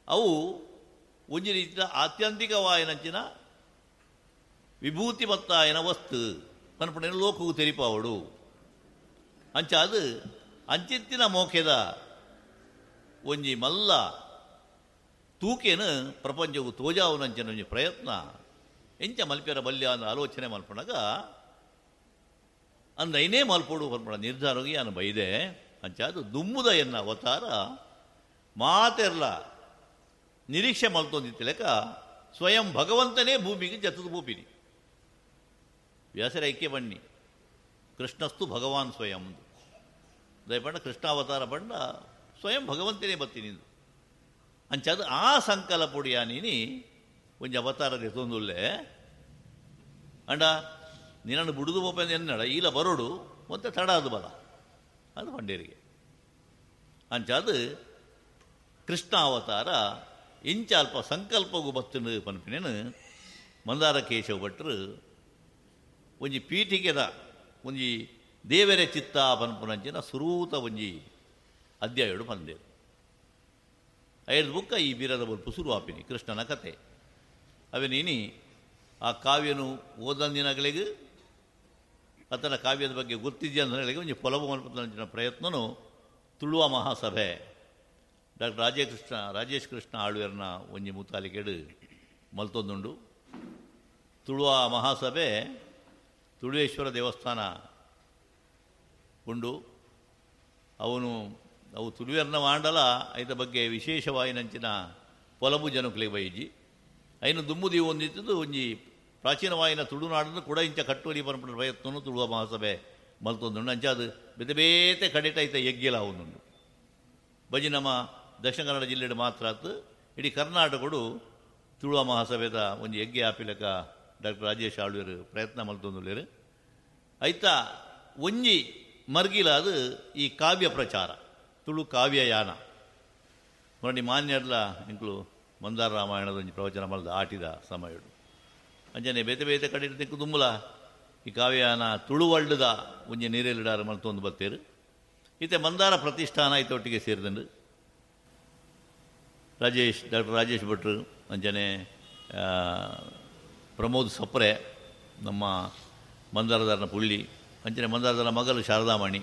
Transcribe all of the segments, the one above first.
ಅವು ಒಂಜಿ ರೀತಿಯ ಆತ್ಯಂತಿಕವಾಯಿನಂಚಿನ ವಿಭೂತಿ ಮತ್ತಾಯನ ವಸ್ತು ಪನ್ಪುನ ಲೋಕವು ತೆರಿಪಾವಡು. ಅಂಚಾದು ಅಂಚಿತ್ತಿನ ಮೋಕೆದ ಒಂಜಿ ಮಲ್ಲ ತೂಕೇನು ಪ್ರಪಂಚವು ತೋಜಾವುನಂಚಿನ ಒಂಜಿ ಪ್ರಯತ್ನ ಎಂಚ ಮಲ್ಪೆರ ಬಲ್ಯ ಅಂದ ಆಲೋಚನೆ ಮಲ್ಪಣಗ ಅಂದೈನೇ ಮಲ್ಪೊಡು ಪನ್ಪುಣ ನಿರ್ಧಾರವಾಗಿ ನಾನು ಬೈದೆ. ಅಂಚಾದು ದುಮ್ಮುದ ಎನ್ನ ಅವತಾರ ಮಾತೆರ್ಲ ನಿರೀಕ್ಷೆ ಮಲ್ತೊಂದಿತ್ತಲೆಕ ಸ್ವಯಂ ಭಗವಂತನೇ ಭೂಮಿಗೆ ಜತದ ಭೂಪಿನಿ ವ್ಯಾಸರ ಐಕ್ಯ ಬಣ್ಣಿ ಕೃಷ್ಣಸ್ತು ಭಗವಾನ್ ಸ್ವಯಂ ದಯಪಂಡ ಕೃಷ್ಣಾವತಾರ ಪಂಡ ಸ್ವಯಂ ಭಗವಂತನೇ ಬತ್ತೀನಿ ಅಂಚಾದ ಆ ಸಂಕಲ್ಪೊಡಿಯ ನೀನಿ ಒಂಜಿ ಅವತಾರ ತೊಂದುಲ್ಲೆ ಅಂಡ ನಿನ್ನನ್ನು ಬುಡುದು ಬೋಪಂದು ಎನ್ನಡ ಈಲ ಬರೋಡು ಮತ್ತೆ ತಡ ಅದು ಬಲ ಅದು ಪಂಡೇರಿಗೆ. ಅಂಚಾದು ಕೃಷ್ಣ ಅವತಾರ ಇಂಚ ಅಲ್ಪ ಸಂಕಲ್ಪಗೂ ಬತ್ತನು ಪನ್ಪಿನೇನು ಮಂದಾರ ಕೇಶವ ಭಟ್ರು ಒಂಜಿ ಪೀಠಿಕೆದ ಒಂಜಿ ದೇವರ ಚಿತ್ತ ಪನ್ಪುನಂಚಿನ ಸುರೂತ ಒಂಜಿ ಅಧ್ಯಾಯಡು ಪಂದೇರು. ಐದು ಬುಕ್ಕ ಈ ಬೀರದ ಬೊಲ್ಪು ಸುರುವಾಪಿನಿ ಕೃಷ್ಣನ ಕತೆ. ಅವೇನೀನಿ ಆ ಕಾವ್ಯನು ಓದಂದಿನಗಳಿಗೆ ಆತನ ಕಾವ್ಯದ ಬಗ್ಗೆ ಗೊತ್ತಿದೆಯಾ ಅಂದ್ರೆ ಒಂಜಿ ಪೊಲಬು ಮಲ್ಪುನಂಚಿನ ಪ್ರಯತ್ನನು ತುಳುವ ಮಹಾಸಭೆ ಡಾಕ್ಟರ್ ರಾಜೇಶ್ ಕೃಷ್ಣ ಆಳ್ವೇರ್ನ ಒಂಜಿ ಮುತಾಲಿಕೆಡು ಮಲ್ತೊಂದುಂಡು. ತುಳುವ ಮಹಾಸಭೆ ತುಳುವೇಶ್ವರ ದೇವಸ್ಥಾನ ಉಂಡು. ಅವನು ಅವು ತುಳುವೆರ್ನ ಮಾಂಡಲ ಐತ ಬಗ್ಗೆ ವಿಶೇಷವಾಯಿನಂಚಿನ ಪೊಲಬು ಜನಕುಲೆ ಬೈಜಿ ಐನು ದುಮ್ಮುದಿ ಒಂದಿತ್ತದು ಒಂಜಿ ಪ್ರಾಚೀನವಾಯಿನ ತುಳುನಾಡನ್ನು ಕೂಡ ಇಂಚ ಕಟ್ಟುವಲಿ ಪನ್ಪುನ ಪ್ರಯತ್ನನು ತುಳುವ ಮಹಾಸಭೆ ಮಲ್ತೊಂದುಂಡು. ಅಂಚ ಅದು ಬೇತೆ ಬೇತೆ ಕಡೆಟ ಐತ ಯಜ್ಞಲ ಅವನುಂಡು. ಬಜಿ ನಮ್ಮ ದಕ್ಷಿಣ ಕನ್ನಡ ಜಿಲ್ಲೆಡು ಮಾತ್ರ ಆತು ಇಡೀ ಕರ್ನಾಟಕಡು ತುಳುವ ಮಹಾಸಭೆದ ಒಂಜಿ ಯಜ್ಞ ಆಪಿಲಕ ಡಾಕ್ಟರ್ ರಾಜೇಶ್ ಆಳ್ವೇರು ಪ್ರಯತ್ನ ಮಲ್ತೊಂದುಲ್ಲೇರು. ಐತ ಒಂಜಿ ಮರ್ಗಿಲ ಅದು ಈ ಕಾವ್ಯ ಪ್ರಚಾರ ತುಳು ಕಾವ್ಯಯಾನ ನೋಡಿ ಮಾನ್ಯರ್ಲ ಇಂಕ್ಲು ಮಂದಾರ ರಾಮಾಯಣದ ಒಂಜಿ ಪ್ರವಚನ ಮಲ್ದ ಆಟಿದ ಸಮಯಡು ಅಂಚನೆ ಬೇತೆ ಬೇತೆ ಕಡೆ ದಿಕ್ಕು ದುಂಬುಲ ಈ ಕಾವ್ಯಯಾನ ತುಳುವಳ್ಳುದ ಒಂಜಿ ನೀರೆಲ್ಲಿಡಾರ ಮಲ್ತೊಂದು ಬತ್ತೇರು. ಈತೆ ಮಂದಾರ ಪ್ರತಿಷ್ಠಾನ ಐತೊಟ್ಟಿಗೆ ಸೇರಿದಂಡು ಡಾಕ್ಟರ್ ರಾಜೇಶ್ ಭಟ್ರು ಅಂಚನೆ ಪ್ರಮೋದ್ ಸಪ್ರೆ ನಮ್ಮ ಮಂದಾರದಾರನ ಪುಳ್ಳಿ ಅಂಚನೆ ಮಂದಾರದಾರನ ಮಗಲು ಶಾರದಾಮಣಿ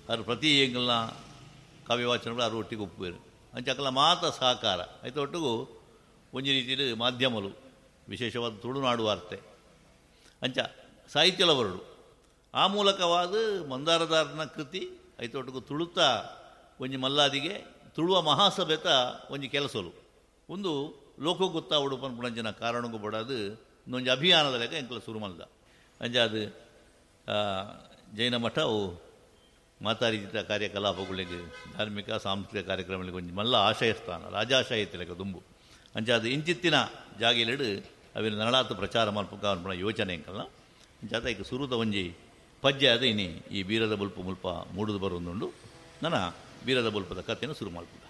ಅವರು ಪ್ರತಿ ಎಂಗಲ್ನ ಕಾವ್ಯವಾಚನಗಳು ಅವರು ಒಟ್ಟಿಗೆ ಒಪ್ಪುವರು. ಅಂಚಕಲ ಮಾತ ಸಹಕಾರ ಐತ ಒಟ್ಟಿಗೂ ಒಂಜಿ ರೀತಿಯಲ್ಲಿ ಮಾಧ್ಯಮಲು ವಿಶೇಷವಾದ ತುಳುನಾಡು ವಾರ್ತೆ ಅಂಚ ಸಾಹಿತ್ಯಲವರುಡು ಆ ಮೂಲಕವಾದ ಮಂದಾರದಾರನ ಕೃತಿ ಐತೊಟ್ಟಿಗೂ ತುಳುತ ಒಂಜಿ ಮಲ್ಲಾದಿಗೆ ತುಳುವ ಮಹಾಸಭೆತ ಒಂಜಿ ಕೆಲಸಲು ಒಂದು ಲೋಕ ಗೊತ್ತಾವಡು ಪನ್ಪುಣಂಚಿನ ಕಾರಣಕ್ಕೂ ಬಡದು ಇನ್ನೊಂದು ಅಭಿಯಾನದ ಲೆಕ್ಕ ಎಂಕಲ ಸುರು ಮಲ್ದ. ಅಂಚ ಅದು ಜೈನ ಮಠವು ಮಾತಾರೀತಿತ ಕಾರ್ಯಕಲಾಪಗಳಿಗೆ ಧಾರ್ಮಿಕ ಸಾಂಸ್ಕೃತಿಕ ಕಾರ್ಯಕ್ರಮಗಳಿಗೆ ಒಂಜಿ ಮಲ್ಲ ಆಶಯಸ್ಥಾನ ರಾಜಾಶಯ ಲೆಕ್ಕ ದುಂಬು. ಅಂಚ ಅದು ಇಂಚಿತ್ತಿನ ಜಾಗಿಲೆಡು ಅವಿನ ನರಳಾತು ಪ್ರಚಾರ ಮಲ್ಪುಕ ಅನ್ಪುಣ ಯೋಚನೆ ಎಂಕಲ್ನ. ಅಂಚಾತ ಈಗ ಸುರುತ ಒಂಜಿ ಪಜ್ಜೆ ಅದು ಇನಿ ಈ ಬೀರದ ಬೊಲ್ಪು ಮುಲ್ಪ ಮೂಡುದು ಬರೋದುಂಡು. ನನ್ನ ಬೀರದ ಬೊಲ್ಪದ ಕಥೆಯನ್ನು ಶುರು ಮಲ್ಪುದ.